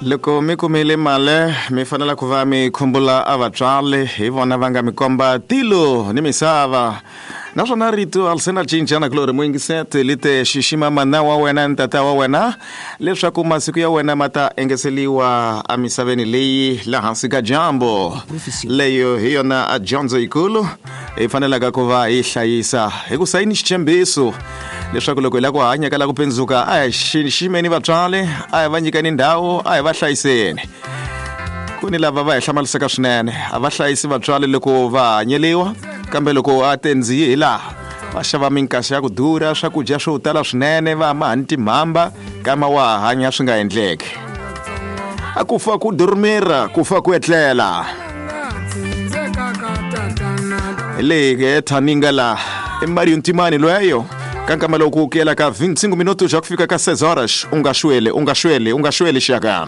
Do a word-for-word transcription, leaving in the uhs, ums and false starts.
Loko mi kumile mali mi fanele ku va mi khumbula a vatswari hi vona va nga mi komba tilo ni misava naswona rito a li se na cinca na kulori muyingisete li te xixima mana wa wena ni tata wa wena leswaku masiku ya wena ma ta engeseliwa emisaveni leyi la hansi ka dyambu leyo hi yona a dyondzo yikulu hi fanelaka ku va hi hlayisa hi ku sayini xitshembiso leswaku loko hi lava ku hanya ka la ku pindzuka a hi xiximeni vatswari a hi va nyikeni ndhawu a hi va hlayiseni ku ni lava va hi hlamalisaka swinene a va hlayisi vatswari loko va hanyeliwa kambe loko a tendziyi hi laha va xava minkaxa ya ku durha swakudya swo tala swinene va ma hani timhamba kama wa hanya swi nga endleki a ku fa ku durumira ku fa ku etlela hi leyi ke thaninga la i Mario Ntimani lweyo ka nkama loku ku yela ka vinte e cinco minutos já ku fika ka seis horas u nga xweli u nga xweli u nga xweli xaka.